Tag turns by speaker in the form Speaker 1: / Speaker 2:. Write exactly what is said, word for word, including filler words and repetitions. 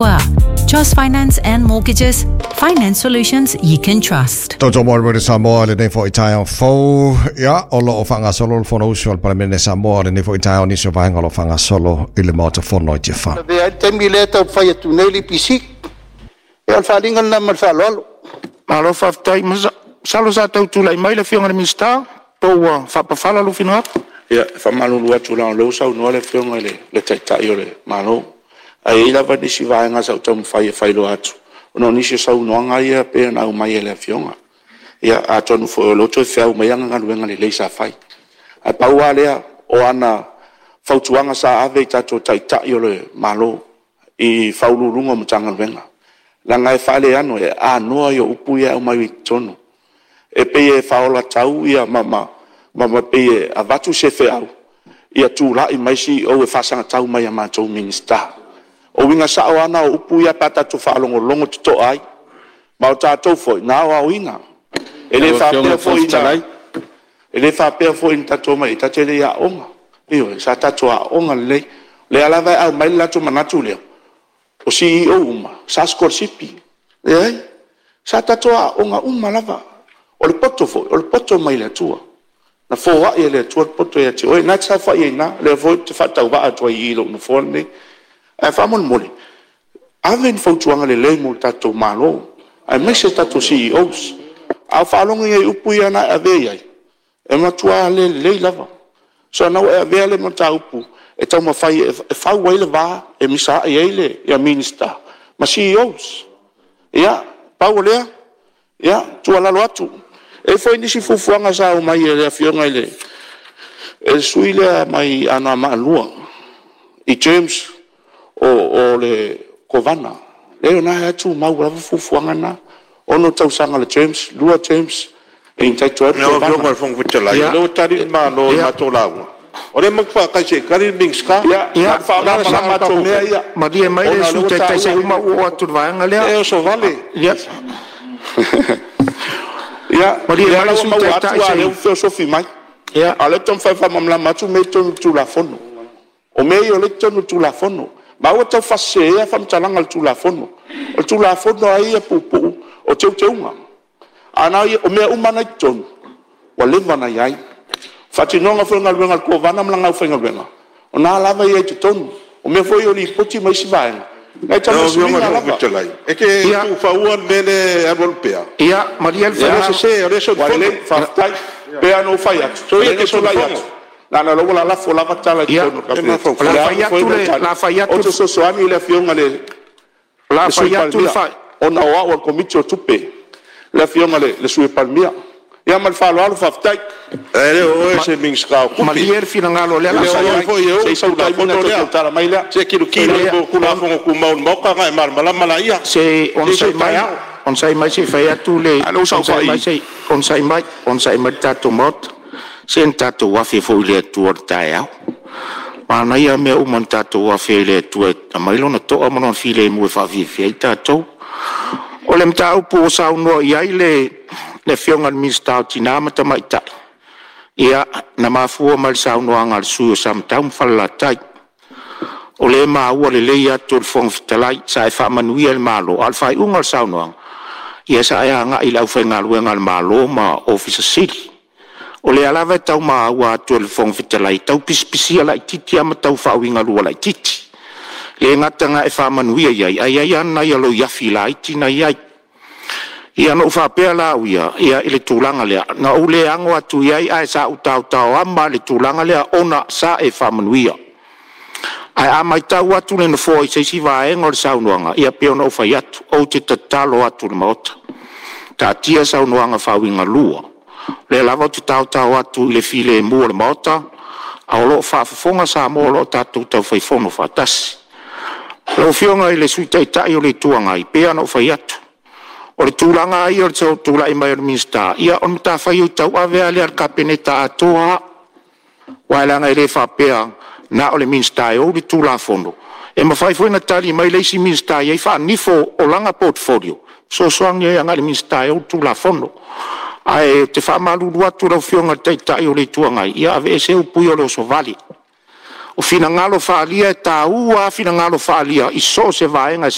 Speaker 1: Trust Finance and Mortgages, finance solutions you can trust.
Speaker 2: Tautau mo le Samoa lenei foi taeao fou. Ia, o loo faagasolo le Fonousu a le Palemene Samoa lenei foi taeao, nisi o vaega o lo o faagasolo i le Maota Fono i Tiafa.
Speaker 3: Avea ai le taimi lea e taumafai atu nei le E P C. Ia, o le faaaliga lena ma le faaaloalo.
Speaker 4: Malo faafetai. Masalo sa tau tulai mai le Afioga i le Minisita, po ua faapafala lou finagalo.
Speaker 5: Ia, e faamalulu atu leaga o lea ua saunoa le Afioga i le Taitai o le Malo, ae i ai lava nisi vaega sa ou taumafai e faailoa atu, ona o nisi o saunoaga ia pei ona aumai e le Afioga. Ia, atonu foi o lea ua toe feau mai ana galuega lelei sa fai. Ae pau lava lea, o ana fautuaga sa ave i tatou Taitai o le Malo i Ofisa Sili o Pulega o Matagaluega, leaga e faaleano, e anoa ia o upu ia e aumai i totonu. E pei e faaolatau ma pei e avatu se feau, ia tulai mai C E O e faasagatau mai ia matou Minisita. O uiga sao lava na o upu ia pe a tatou faalogologo totoa ai. Ma o tatou foi na aoaoina. E le
Speaker 6: Lau Afioga i
Speaker 5: faapea
Speaker 6: le Fofoga
Speaker 5: foi na
Speaker 6: Fetalai.
Speaker 5: E le faapea foi na tatou omai i i tatou te le i aooga. Ioe, sa tatou aooga lelei. O lea lava e aumai le latou manatu lea, o C E O uma sa sikolasipi. Leai, sa tatou aooga uma lava. O le poto foi, o le poto mai le Atua. Na foai e le Atua le poto ia te oe, o lena e te saofai ai i ina, o lea foi ou te faatauvaa atu ai i i i lou nofoa lenei. Ae faamolemole, ave ni fautuaga lelei mo le tatou Malo, aemaise tatou C E Os. A ou faalogo i ai i upu ia na e avea i ai, e matua le lelei lava. So o lena ua e avea le mataupu e taumafai e fau ai le va e misaai ai Minisita ma C E Os. Ia, pau o lea, ia, tuualalo atu. E i ai foi nisi fuafuaga sa aumai e le Afioga i le sui usufono lea mai Anoamaa dua i terms o le Kovana. Leai o lena e tumau lava fuafuaga na, ono tausaga o le terms, lua terms e entitle ai le
Speaker 6: Lau
Speaker 5: Kovana.
Speaker 6: Afioga i le Fofoga Fetalai,
Speaker 4: Ia.
Speaker 6: o lea ua tali le Malo i le matou lauga, o lea matou te faatali se i tali le Minisita.
Speaker 5: Ia,
Speaker 4: Ia,
Speaker 5: na ona faamalamalama atu o mea ia,
Speaker 4: Malie mai le
Speaker 5: ona o lea
Speaker 4: Sui
Speaker 5: ua
Speaker 4: Taitai se i
Speaker 5: taua.
Speaker 4: uma ou oo atu i le vaega lea.
Speaker 6: E oso vale.
Speaker 4: Ia,
Speaker 5: Ia,
Speaker 4: Malie
Speaker 5: lea
Speaker 4: mai
Speaker 5: la
Speaker 4: le
Speaker 5: ua
Speaker 4: Sui
Speaker 5: maua atu
Speaker 4: Taitai
Speaker 5: a
Speaker 4: se
Speaker 5: lea
Speaker 4: i
Speaker 5: ua feosofi mai.
Speaker 4: Ia.
Speaker 5: A o lea ou te taumafai e faamalamalama atu mea ia i totonu o le Tulafono. O mea ia o lea e i totonu o le Tulafono. Ma aua le taufaaseseina faamatalaga o le Tulafono. O le Tulafono lava ia puupuu o teuteuga. A o mea uma lava na i totonu, ua leva ona i ai. Faatinoga foi o galuega a le Kovana ma lana aufaigaluega, o lena lava e i ai i totonu. O mea foi ia o Lipoti ma isi vaega, na
Speaker 6: Lau
Speaker 5: o
Speaker 6: Afioga i le
Speaker 5: suiga
Speaker 6: Fofoga
Speaker 5: lava.
Speaker 6: Fetalai, e te
Speaker 4: Ia.
Speaker 6: tuufaua le mea lea e alualu pea?
Speaker 4: Ia, malie le
Speaker 6: O lea e
Speaker 4: finagalo.
Speaker 6: sese, o lea e
Speaker 5: Ua
Speaker 6: solifono.
Speaker 5: lelei, faafetai. Pei lava ona ou fai atu, o
Speaker 6: Soia
Speaker 5: lea
Speaker 6: e
Speaker 5: na
Speaker 6: te
Speaker 5: ou tulai
Speaker 6: solifono.
Speaker 5: atu, leaga o lea ua lalafo lava tala i
Speaker 4: Ia.
Speaker 5: totonu o le
Speaker 6: E
Speaker 5: Kapeneta.
Speaker 4: O
Speaker 5: O
Speaker 4: le
Speaker 5: le
Speaker 4: a
Speaker 5: a
Speaker 4: fai
Speaker 5: foi
Speaker 4: atu
Speaker 5: le
Speaker 4: le,
Speaker 5: tali,
Speaker 4: o le a fai
Speaker 5: ou
Speaker 4: atu,
Speaker 5: te fesoasoani i le Afioga i le
Speaker 4: o le a
Speaker 5: le Sui
Speaker 4: fai atu le
Speaker 5: Palemia,
Speaker 4: fai.
Speaker 5: ona o au o le Komiti o Tupe, le Afioga i le Sui Palemia. Ia ma le faaaloalo, faafetai.
Speaker 6: E le o oe se Minisita o Tupe.
Speaker 4: Malie le finagalo o lea
Speaker 6: E
Speaker 4: o le
Speaker 6: le
Speaker 4: a
Speaker 6: o
Speaker 4: fai
Speaker 6: oe
Speaker 4: atu.
Speaker 6: foi e
Speaker 5: Se
Speaker 6: ou
Speaker 5: i
Speaker 6: le
Speaker 5: sau taimi ona
Speaker 6: Tulafono
Speaker 5: toe
Speaker 6: lea.
Speaker 5: tautala mai lea.
Speaker 6: Se tilotilo i Tulafono Tumau a le Maota ona e malamalama laia.
Speaker 4: Se
Speaker 6: Se i
Speaker 4: onosai
Speaker 6: sau
Speaker 4: mai,
Speaker 6: taeao.
Speaker 4: onosai mai se i fai atu le
Speaker 5: A o lea ua
Speaker 4: onosai
Speaker 5: saofai
Speaker 4: mai se i onosai mai, onosai mai le tatou Maota. Se na tatou afe foi i le Atua i le taeao. Manaia mea uma na tatou afe ai i le Atua e aumai Lona toa ma Lona filemu e faafiafia ai tatou. O le mataupu ua saunoa i ai le le Afioga i le Minisita o Tina ma Tamaitai, ia, na mafua mai i le saunoaga a le sui usufono o Samatau ma Falelatai. O lea e maua lelei atu e le Fofoga Fetalai, sa e faamanuia i le Malo, a o le faaiuga o le saunoaga, ia sa e agai i le aufaigaluega a le Malo ma Ofisa Sili. O lea lava e tau maua atu e le Fofoga Fetalai, e tau pisipisia laitiiti lava ma tau faauigalua laitiiti. E le gata ina e faamanuia i ai, ae i ai lava nai aloiafi laiti na i ai. Ia na ou faapea la au ia, ia i le tulaga lea, na ou le ano atu i ai, ae sa ou taotaoama i le tulaga lea ona sa e faamanuia. Ae a matau atu le Nofoa i se isi vaega o le saunoaga, ia pei ona ou fai atu, ou te tatalo atu i le Maota, taatia saunoaga faauigalua. O lea lava ou te taotao atu i le filemu o le Maota, a o lo o faafofoga Samoa o lo o tatou taufai fono faatasi. Lau Afioga i le Sui Taitai o le Itu Agai, pei lava ona ou fai atu, o le tulaga lava ia o le tulai mai o le Minisita, ia o le matafaioi tauave lava lea a le Kapeneta atoa lava. Aua leaga e le faapea na o le Minisita e ou le Tulafono, e mafai foi ona tali mai le isi Minisita e i ai faanifo o lana portfolio, fesoasoani ai agai i le Minisita e ou le Tulafono. Ae ou te faamalulu atu i lau Afioga i le Taitai o le Itu Agai, ia aveese upu ia o le osovale. O finagalo faaalia e taua a finagalo faaalia i so o se vaega e